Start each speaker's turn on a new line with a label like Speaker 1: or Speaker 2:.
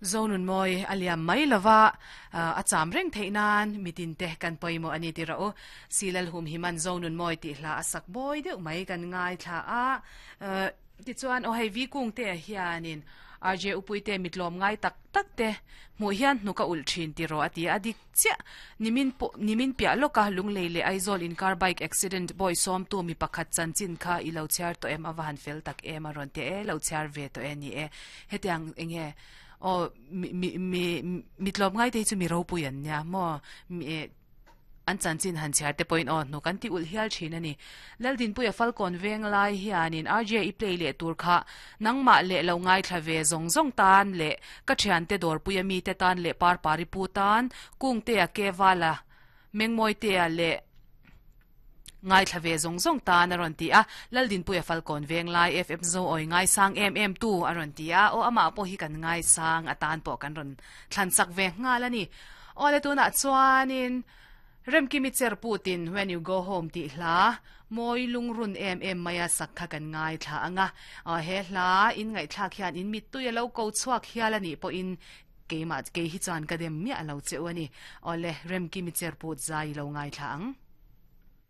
Speaker 1: Zonunmawi a liam mai lova, a cham reng theih nan mitin te kan pawimawh a ni ti rawh u. Silalhum himan Zonunmawi tih hla a sak bawi deuh mai kan ngaithla a. Tichuan aw hei Vi Kungte ah hianin RJ Upuite mitlawm ngai tak tak te hmuh hian hnuk a ulh thin ti rawh a ti a, a dik chiah. Nimin pawh nimin piah lawka Lunglei leh Aizawl inkar bike accident bawi sawmtu mi pakhat chanchin kha i lo chhiar tawh em a va han fel tak em a rawn ti e, lo chhiar ve tawh e ni e. Hetiang enge aw mi mi mi mitlawm ngai te hi chu mi ropui an nia maw mi An chanchin han chhiar te pawhin aw hnuk an ti ulh hial thin a ni. Laldinpuia Falkawn veng lai hianin RJ i play leh tur kha nangmah leh lo ngaithla ve zawng zawng tan leh ka thiante dawrpuia mite tan leh Parpari pu tan Kungtea Kevala Mengmawitea leh ngaithla ve zawng zawng tan a rawn ti a. Laldinpuia Falkawn veng lai FM Zoawi ngaisang em em tu a rawn ti a. Aw amah pawh hi kan ngaisang atan pawh kan rawn thlan chak ve nghal a ni. Awle tunah chuanin Remkimi cher putin When You Go Home tih hla mawi lungrun em em maia sak kha kan ngaithla ang a. Aw he hla in ngaihthlak hian in mittui a lo ko chhuak hial a nih pawhin keimah kei hi chuan ka dem miah lo che u a ni. Awle Remkimi cher put zai i lo ngaithla ang.